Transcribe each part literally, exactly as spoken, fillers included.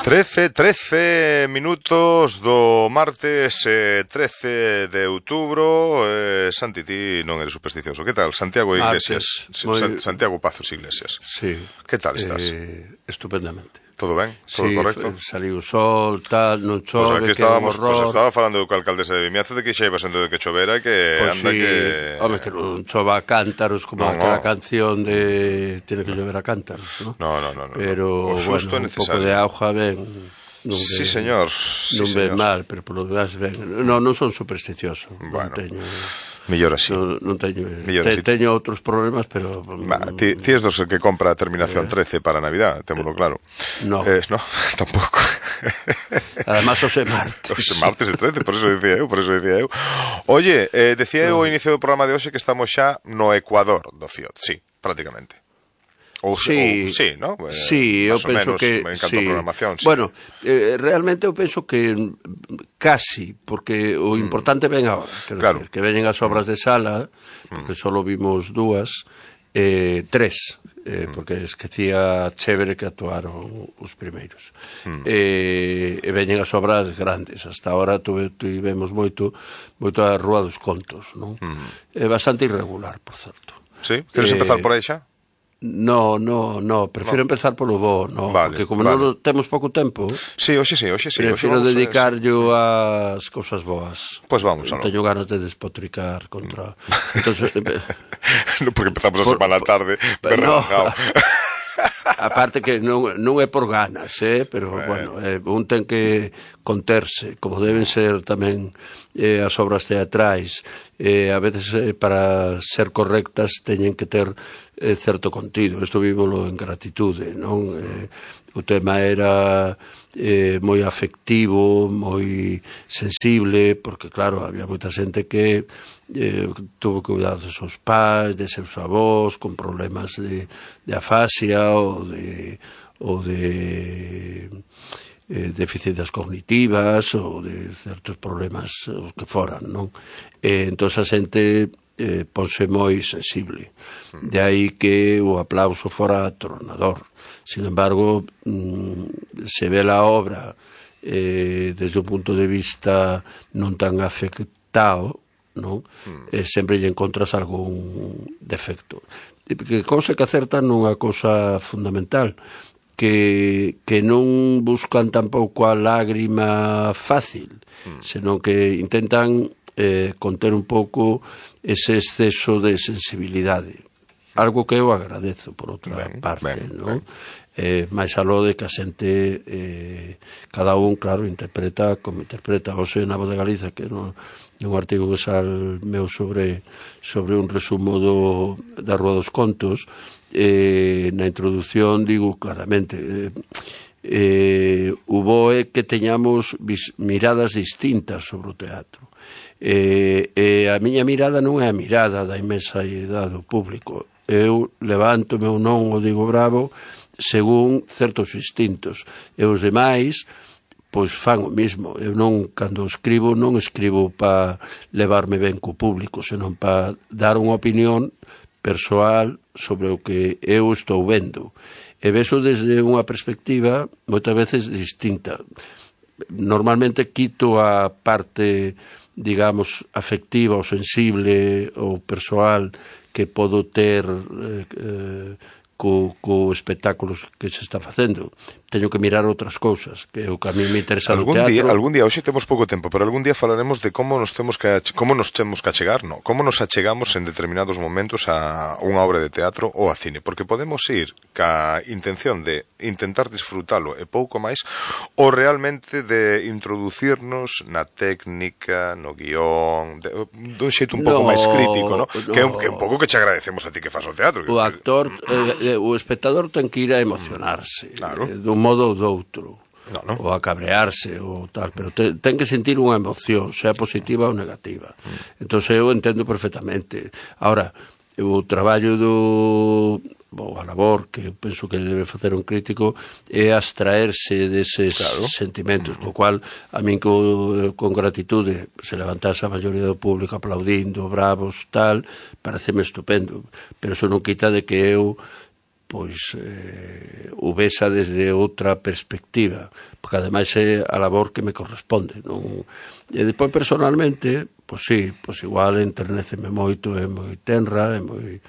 trece, trece minutos do martes eh, trece de outubro. eh, Santi, ti non eres supersticioso. Que tal? Santiago Iglesias. Martes, moi... San, Santiago Pazos Iglesias. Sí. Que tal estás? Eh, estupendamente. Todo ben? Todo sí, correcto? Saliu o sol, tal, non chove, pues aquí que é un estábamos, horror. Pues estaba falando co alcaldesa de Vimiazo de que xa iba sendo de que chovera e que pues anda sí, que... Home, que non chova a cántaros como no, aquela no. canción de tiene que llover a cántaros, ¿no? No, no, no, no. Pero, o xusto bueno, é necesario. un pouco de auga ben... Non sí, ve, señor. Sí, non ve señor. mal, pero polo demás ben. Non, non son supersticioso. Bueno, non teño... mellor así. Non, non teño, Millor te, así. teño outros problemas, pero... Va, ti, ti es dos que compra a terminación trece para Navidad, témolo claro. No. Eh, no, tampouco. Además, os é martes. Os martes de trece, por eso decía eu, por eso decía eu. Oye, eh, decía eu ao inicio do programa de hoxe que estamos xa no Ecuador do Fiat, sí, prácticamente. Ou, sí, ou, sí, ¿no? Eh, sí, eu penso menos, que en canto sí. a programación, sí. Bueno, eh, realmente eu penso que casi, porque o importante ven agora, claro. Decir, que veñen as obras de sala, porque só vimos dúas, eh, tres, eh, porque esquecía chévere que actuaron os primeiros. Mm. Eh, e veñen as obras grandes, hasta ahora tivemos moito moito a Rúa dos Contos, non? Mm. É bastante irregular, por certo. Sí, queres eh, empezar por aí xa? No, no, no, prefiro no. empezar polo bo, no, vale, porque como vale. non temos pouco tempo, sí, hoxe sí, hoxe sí, prefiro hoxe dedicarlo a... ás cousas boas. Pois pues vamos, aló. Teño ganas de despotricar contra... Entonces, no, porque empezamos a semana tarde, no. Aparte que non, non é por ganas, eh, pero bueno, bueno eh, un ten que conterse, como deben ser tamén eh, as obras teatrais, eh, a veces eh, para ser correctas teñen que ter eh, certo contido. Isto vívolo en gratitude, non? Eh, o tema era eh, moi afectivo, moi sensible, porque claro, había moita xente que eh, tuvo que cuidar de seus pais, de seus avós, con problemas de, de afasia ou de, ou de eh, deficiencias cognitivas ou de certos problemas os que foran, non? Eh, entón a xente eh, ponse moi sensible. De aí que o aplauso fora atronador. Sin embargo, mmm, se ve a obra eh, desde un punto de vista non tan afectado, non? Mm. Eh, sempre lle encontras algún defecto. Que cousa que acertan nunha cousa fundamental, que, que non buscan tampouco a lágrima fácil, mm. senón que intentan eh, conter un pouco ese exceso de sensibilidade. Algo que eu agradezo, por outra ben, parte, ben, non? Ben. Eh, máis aló de que a xente eh, cada un, claro, interpreta como interpreta. Hoxe na Voz de Galiza, que no, nun artigo que sal meu sobre sobre un resumo do, da Rúa dos Contos, eh, na introdución digo claramente eh, eh, o bo é que teñamos vis, miradas distintas sobre o teatro. Eh, eh, a miña mirada non é a mirada da inmensa idade do público. Eu levántome ou non o digo bravo según certos instintos, e os demais pois fan o mismo. Eu non, cando escribo, non escribo para levarme ben co público, senón para dar unha opinión persoal sobre o que eu estou vendo, e veso desde unha perspectiva moitas veces distinta. Normalmente quito a parte, digamos, afectiva ou sensible ou persoal que podo ter eh, eh, co, co espectáculos que se está facendo. Teño que mirar outras cousas, que é o que a mí me interesa no teatro. Día, algún día, hoxe temos pouco tempo, pero algún día falaremos de como nos temos que como nos temos que achegar, no? Como nos achegamos en determinados momentos a unha obra de teatro ou a cine, porque podemos ir ca intención de intentar disfrutalo e pouco máis, ou realmente de introducirnos na técnica, no guión, de, de un xeito un pouco no, máis crítico, no? No. Que, é un, que é un pouco que che agradecemos a ti que fas o teatro. O actor, eh, o espectador ten que ir a emocionarse, claro. eh, dun modo ou doutro, no, no. ou a cabrearse ou tal, pero te, ten que sentir unha emoción, sea positiva ou negativa. Mm. Entón eu entendo perfectamente. Ahora, o traballo do ou a labor que eu penso que debe facer un crítico é abstraerse deses claro. sentimentos, co cual a min co, con gratitude se levantase a maioría do público aplaudindo, bravos, tal, pareceme estupendo, pero eso non quita de que eu pois eh, o vesa desde outra perspectiva, porque ademais é a labor que me corresponde, non? E depois personalmente, pois sí, pois igual enternéceme moito, é moi tenra, é moi...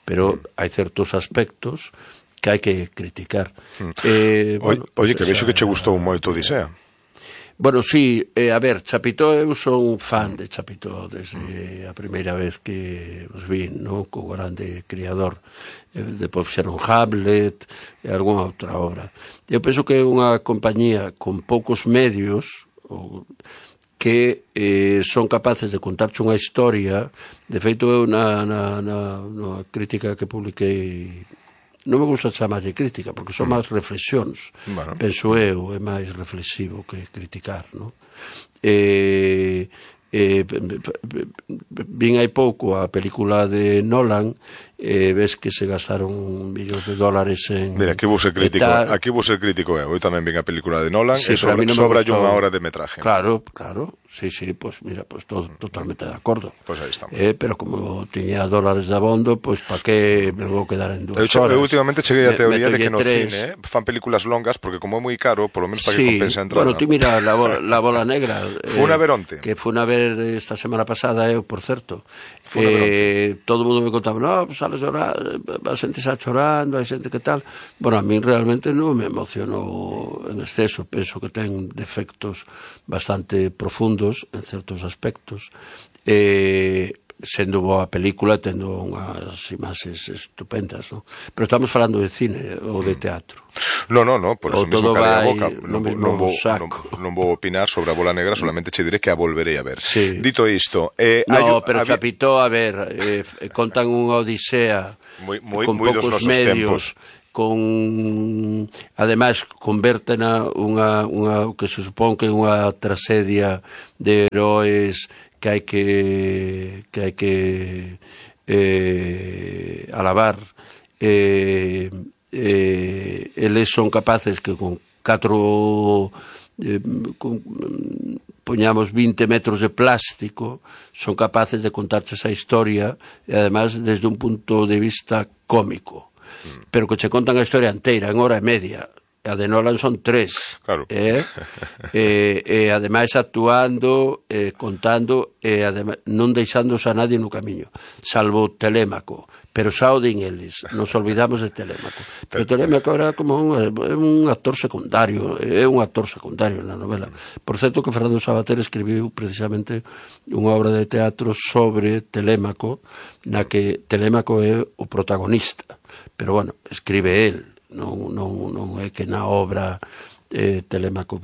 pero hai certos aspectos que hai que criticar. Mm. Eh, Oye, bueno, oye pues que vexo esa... que che gustou moito Odisea. Bueno, sí, eh, a ver, Chapitó, eu son fan de Chapitó desde a primeira vez que os vi, non? Co grande criador. Eh, depois fixeron Hamlet e algunha outra obra. Eu penso que é unha compañía con poucos medios ou, que eh, son capaces de contarche unha historia. De feito, eu na, na, na, na crítica que publiquei, non me gusta chamarlle crítica, porque son máis reflexións. Bueno. Penso eu, é máis reflexivo que criticar, non? E, e, vin hai pouco a película de Nolan, e ves que se gastaron millóns de dólares en... Mira, aquí vou ser crítico, aquí vou ser crítico eu. Eu tamén vin a película de Nolan, sí, e sobra, no sobra unha hora de metraje. Claro, claro, sí, sí, pues mira, pues todo, totalmente de acordo. Pois pues aí estamos. Eh, pero como tiña dólares de abondo, pois pues, pa que me vou quedar en dúas eu, horas? Eu últimamente cheguei a teoría de que no tres. cine eh, fan películas longas, porque como é moi caro, polo menos para sí, que compense a entrada. Bueno, tú mira, la bola, la bola negra. Fue a ver onte. Que fue a ver esta semana pasada, eu, por certo. Eh, todo o mundo me contaba, no, pues sales llorar, a xente xa chorando, hai xente que tal. Bueno, a mí realmente non me emocionou en exceso, penso que ten defectos bastante profundos en certos aspectos, eh, sendo boa película, tendo unhas imaxes estupendas, non? Pero estamos falando de cine ou de teatro. No, no, no, por eso mismo calei a boca. Non, non, vou, non, non vou opinar sobre a bola negra, solamente che diré que a volverei a ver. Sí. Dito isto... Eh, no, hai, pero había... Chapitó, a ver, eh, contan unha odisea muy, muy, con muy poucos medios, tempos. Con ademais convértena unha, unha que se supón que é unha tragedia de heróis que hai que que hai que eh, alabar. Eh, eh, eles son capaces que con catro eh, con, poñamos vinte metros de plástico son capaces de contarche esa historia e además desde un punto de vista cómico, mm. pero que che contan a historia inteira en hora e media. A de Nolan son tres, claro. eh? e, e ademais actuando, eh, contando, e ademais, non deixándose a nadie no camiño, salvo Telémaco, pero xa o din eles, nos olvidamos de Telémaco. Pero Telémaco era como un, un actor secundario, é un actor secundario na novela. Por certo que Fernando Sabater escribiu precisamente unha obra de teatro sobre Telémaco, na que Telémaco é o protagonista, pero bueno, escribe él. Non, non, non é que na obra eh, Telémaco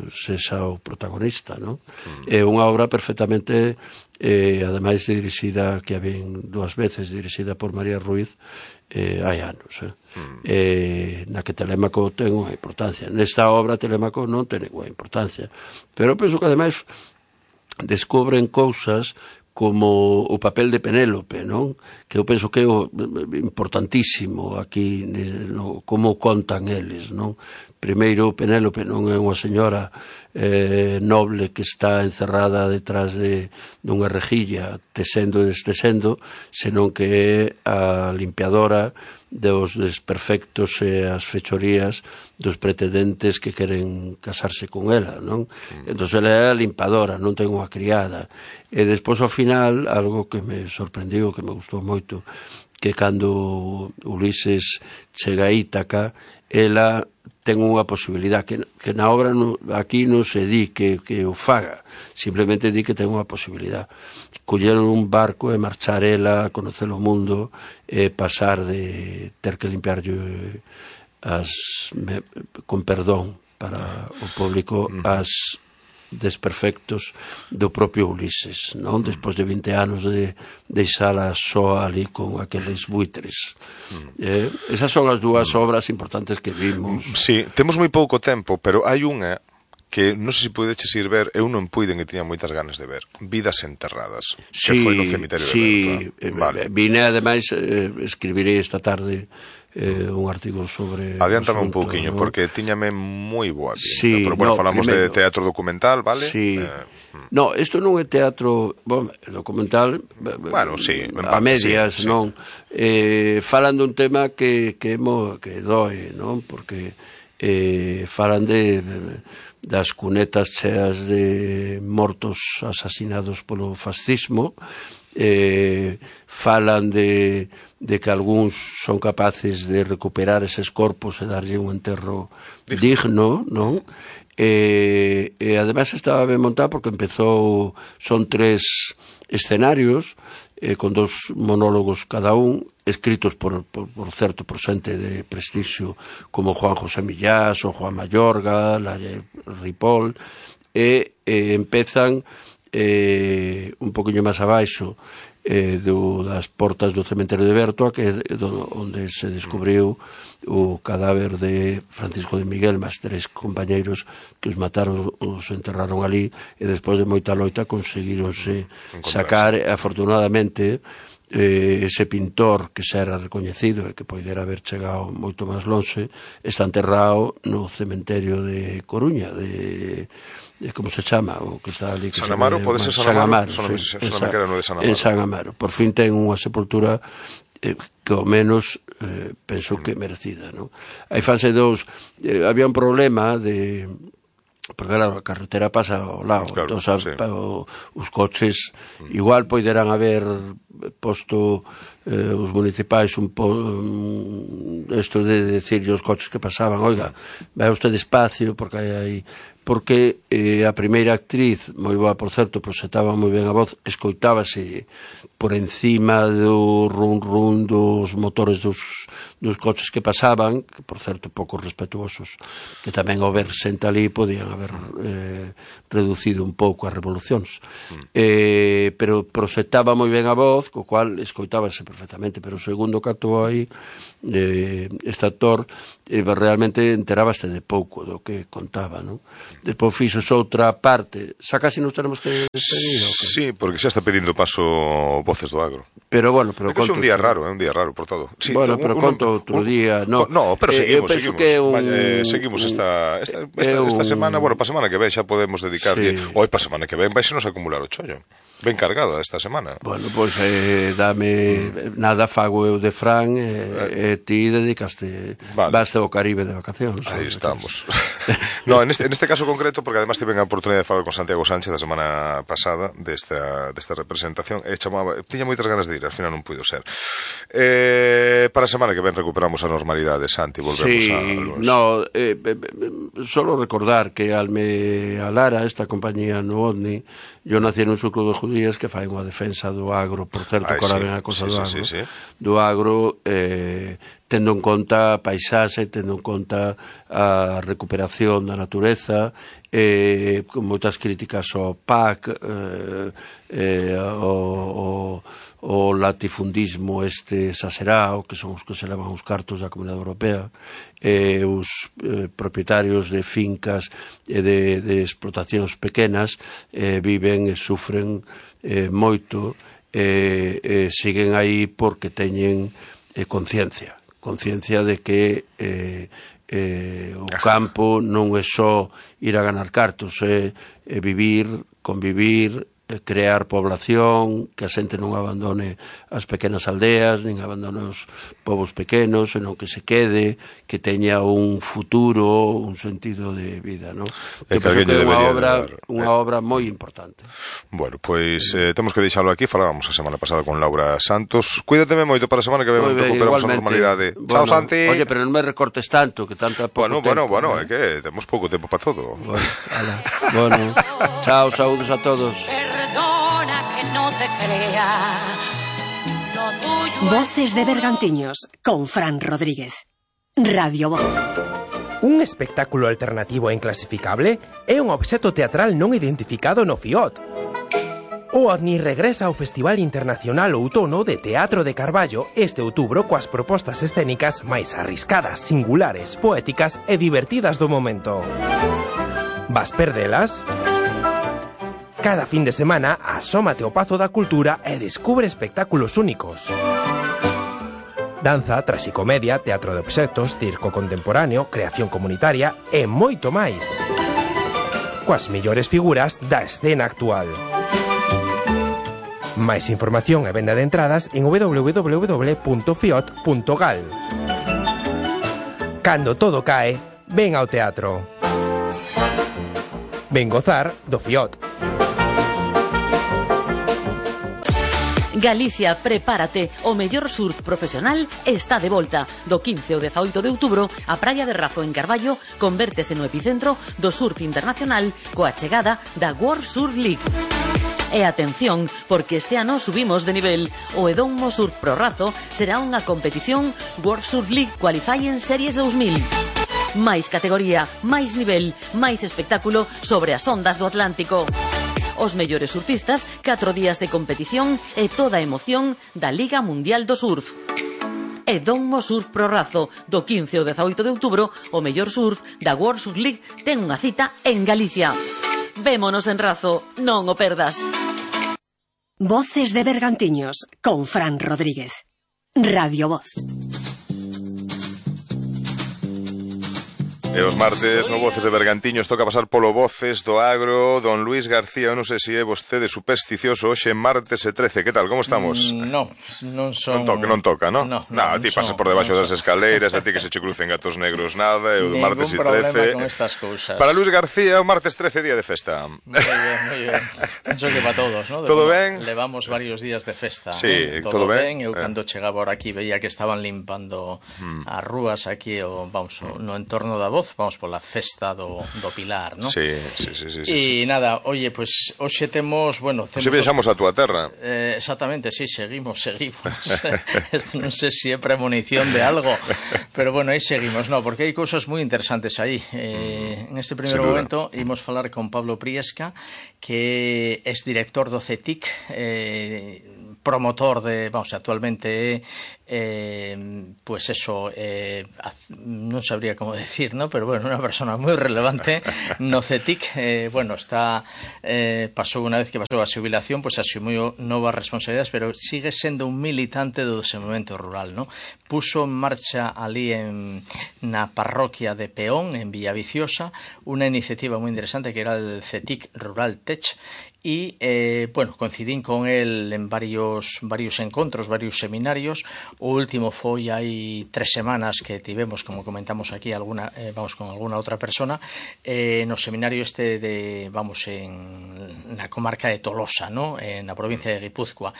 sexa o protagonista, non? Mm. É unha obra perfectamente eh, ademais dirixida, que a ven dúas veces dirixida por María Ruiz eh, hai anos eh. Mm. Eh, na que Telémaco ten unha importancia. Nesta obra Telémaco non ten unha importancia, pero penso que ademais descubren cousas como o papel de Penélope, non? Que eu penso que é o importantísimo aquí, no, como contan eles, non? Primeiro, Penélope non é unha señora eh, noble que está encerrada detrás de dunha rejilla tesendo e destesendo, senón que é a limpiadora dos desperfectos e as fechorías dos pretendentes que queren casarse con ela, non? Mm. Entón, ela é a limpadora, non ten unha criada. E despois, ao final, algo que me sorprendiu, que me gustou moito, que cando Ulises chega a Ítaca, ela ten unha posibilidad que, que na obra no, aquí non se di que, que o faga, simplemente di que ten unha posibilidad. Colleron un barco e marchar ela a conocer o mundo e pasar de ter que limpiar as, me, con perdón para o público as desperfectos do propio Ulises, non? Despois de vinte anos de deixala só ali con aqueles buitres. Eh, esas son as dúas obras importantes que vimos. Sí, temos moi pouco tempo, pero hai unha que non sei se podeches ir ver, eu non puiden e tiña moitas ganas de ver, Vidas enterradas, sí, que foi no cemiterio sí, de Berta. Vale. Vine ademais, eh, escribirei esta tarde eh, un artigo sobre... Adiántame asunto, un pouquiño, ¿no? porque tiñame moi boa pinta. Sí, pero bueno, no, falamos primeiro, de teatro documental, vale? Sí. Eh, no, isto non é teatro, bueno, documental, bueno, sí, a medias, sí, non? Sí. Eh, falan dun tema que que mo, que doe, non? Porque eh, falan de, de das cunetas cheas de mortos asasinados polo fascismo, eh, falan de, de que algúns son capaces de recuperar eses corpos e darlle un enterro digno, non? E, e ademais estaba ben montado porque empezou, son tres escenarios eh, con dos monólogos cada un, escritos por, por, por certo por xente de prestixio como Juan José Millás ou Juan Mayorga, Laia Ripoll, e eh, empezan eh, un poquinho máis abaixo eh, do, das portas do cementerio de Bertoa, que é do, onde se descubriu o cadáver de Francisco de Miguel, máis tres compañeiros que os mataron, os enterraron ali, e despois de moita loita conseguironse sacar, afortunadamente, eh, ese pintor que xa era recoñecido e que poidera haber chegado moito máis lonxe, está enterrado no cementerio de Coruña, de... como se chama, o que está ali, que San Amaro, pode ser San Amaro, San Amaro, sí, sí, que era no de San Amaro. En San Amaro, por fin ten unha sepultura eh, que ao menos eh, penso que merecida, non? Aí fanse dous, eh, había un problema de, porque claro, a carretera pasa ao lado, claro, entón, sí. o, os coches igual poiderán haber posto eh, os municipais un po um, esto de decirle os coches que pasaban, oiga, vai usted despacio porque hai aí, porque eh, a primeira actriz, moi boa por certo, proxetaba moi ben a voz, escoitábase por encima do run run dos motores dos, dos coches que pasaban, que por certo pouco respetuosos, que tamén ao ver senta ali podían haber eh, reducido un pouco as revolucións, mm. eh, pero proxetaba moi ben a voz, co cual escoitábase perfectamente, pero o segundo que actuou aí eh, este actor eh, realmente enterábase de pouco do que contaba, non? Despois fixos outra parte, xa casi nos tenemos que despedir, ¿o qué? Sí, porque xa está pedindo paso Voces do Agro. Pero bueno, pero é que é un día que... raro, é un día raro por todo. Sí, bueno, pero un, conto outro un, día, no. No, pero seguimos, eh, seguimos. Que un, eh, seguimos esta esta, esta, esta un... semana, bueno, para semana que ven xa podemos dedicarlle, sí. Hoy para semana que ven vai se nos acumular o chollo. Ben cargada esta semana. Bueno, pois pues, eh, dame mm. nada fago eu de Fran e eh, eh, ti dedicaste vale. Vaste ao Caribe de vacacións. Aí estamos. No, en este, en este caso concreto, porque además tive a oportunidade de falar con Santiago Sánchez a semana pasada desta, desta representación, e chamaba, tiña moitas ganas de ir, al final non puido ser. Eh, para a semana que ven recuperamos a normalidade, Santi, volvemos sí, a... no, eh, eh, solo recordar que Alme Alara, esta compañía no OVNI, yo nací en un sucro de judías que fai unha defensa do agro, por certo, que ahora ven a cosa sí, do agro, sí, sí, sí. do agro, eh, tendo en conta a paisaxe, tendo en conta a recuperación da natureza, eh, con moitas críticas ao P A C, eh, eh, o, o, o latifundismo este exagerado, que son os que se levan os cartos da Comunidade Europea, eh, os eh, propietarios de fincas e de, de explotacións pequenas eh, viven e sufren eh, moito, eh, eh, siguen aí porque teñen eh, conciencia, conciencia de que eh, eh, o campo non é só ir a ganar cartos, é, é vivir, convivir, crear población, que a xente non abandone as pequenas aldeas, nin abandone os povos pequenos, senón que se quede, que teña un futuro, un sentido de vida, non? Que que é unha obra, de unha eh. obra moi importante. Bueno, pois eh, temos que deixalo aquí, falábamos a semana pasada con Laura Santos. Cuídateme moito para a semana que vemos, recuperamos a normalidade. Bueno, chao, Santi. Oye, pero non me recortes tanto, que tanta pouco bueno, tempo. Bueno, bueno, ¿no? é que temos pouco tempo para todo. Bueno, ala. Bueno, chao, saúdos a todos. Perdona que no te crea. Lo tuyo Voces de Bergantiños con Fran Rodríguez. Radio Voz. Un espectáculo alternativo e inclasificable é un obxecto teatral non identificado no FIOT. O OVNI regresa ao Festival Internacional Outono de Teatro de Carballo este outubro coas propostas escénicas máis arriscadas, singulares, poéticas e divertidas do momento. Vas perdelas? Cada fin de semana asómate ao Pazo da Cultura e descubre espectáculos únicos. danza, traxicomedia, teatro de obxectos, circo contemporáneo, creación comunitaria e moito máis. Coas mellores figuras da escena actual. Máis información e venda de entradas en w w w punto fiot punto gal. Cando todo cae, ven ao teatro. Ven gozar do Fiot. Galicia, prepárate, o mellor surf profesional está de volta. Do quince ao dezaoito de outubro, a praia de Razo en Carballo convértese no epicentro do surf internacional coa chegada da World Surf League. E atención, porque este ano subimos de nivel. O Edomo Surf Pro Razo será unha competición World Surf League Qualifying Series dous mil. Máis categoría, máis nivel, máis espectáculo sobre as ondas do Atlántico. Os mellores surfistas, catro días de competición e toda a emoción da Liga Mundial do Surf. Edomo Surf Pro Razo, do quince ao dezaoito de outubro, o mellor surf da World Surf League ten unha cita en Galicia. Vémonos en Razo, non o perdas. Voces de Bergantiños, con Fran Rodríguez. Radio Voz. E os martes no Voces de Bergantiños toca pasar polo Voces do Agro. Don Luis García, eu non sei se é vostede supersticioso. Hoxe martes e trece, que tal, como estamos? Mm, no, non son... Non toca, non toca, non? No, no, nah, a ti pasas por debaixo non das escaleiras, a ti que se che crucen gatos negros nada, e o martes e trece... Ningún trece... problema con estas cousas. Para Luis García, o martes trece día de festa. Moi ben, moi ben. Penso que para todos, ¿no? Todo ben? Levamos varios días de festa. Sí, ¿eh? todo, todo ben. ben. Eu eh. cando chegaba ahora aquí veía que estaban limpando hmm. as rúas aquí, o, vamos, no entorno da Voz, vamos pola festa do, do Pilar, ¿no? Sí, sí, sí, sí, E sí. nada, oye, pues hoxe temos, bueno, temos... Hoxe viaxamos a túa terra. Eh, exactamente, sí, seguimos, seguimos. Esto non sei se é premonición de algo, pero bueno, aí seguimos, no, porque hai cousas moi interesantes aí. Eh, en este primeiro momento imos falar con Pablo Priesca, que é director do C E T I C, eh, promotor de, vamos, actualmente eh, pues eso, eh, non sabría como decir, ¿no? Pero bueno, unha persona moi relevante no C E T I C, eh, bueno, está eh, pasou unha vez que pasou a xubilación, pues asumiu novas responsabilidades, pero sigue sendo un militante do desenvolvemento rural, ¿no? Puso en marcha ali en na parroquia de Peón, en Villaviciosa, unha iniciativa moi interesante que era el C E T I C Rural Tech. E, eh, bueno, coincidín con el en varios varios encontros, varios seminarios. O último foi hai tres semanas que tivemos, como comentamos aquí, alguna, eh, vamos, con alguna outra persona, eh, no seminario este de, vamos, en na comarca de Tolosa, ¿no? En na provincia de Guipúzcoa.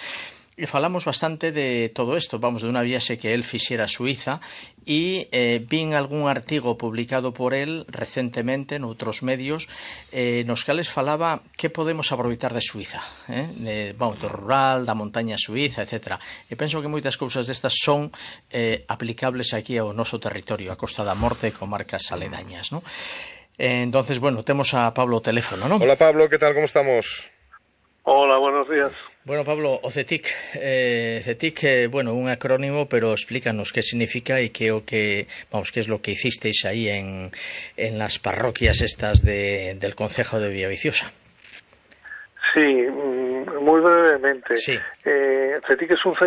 E falamos bastante de todo isto, vamos, de unha viaxe que el fixera a Suiza, e eh, vin algún artigo publicado por el recentemente noutros medios, eh, nos cales falaba que podemos aproveitar de Suiza, eh? de, vamos, do rural, da montaña suiza, etcétera. E penso que moitas cousas destas son eh, aplicables aquí ao noso territorio, a Costa da Morte e comarcas aledañas, ¿no? Eh, entonces, bueno, temos a Pablo ao teléfono, ¿no? Hola Pablo, que tal, como estamos? Hola, buenos días. Bueno, Pablo, o C E T I C, eh, C E T I C, eh, bueno, un acrónimo, pero explícanos qué significa y qué o que, vamos, qué es lo que hicisteis ahí en, en las parroquias estas de, del concejo de Villaviciosa. Sí, muy brevemente. Sí. Eh, C E T I C es un centro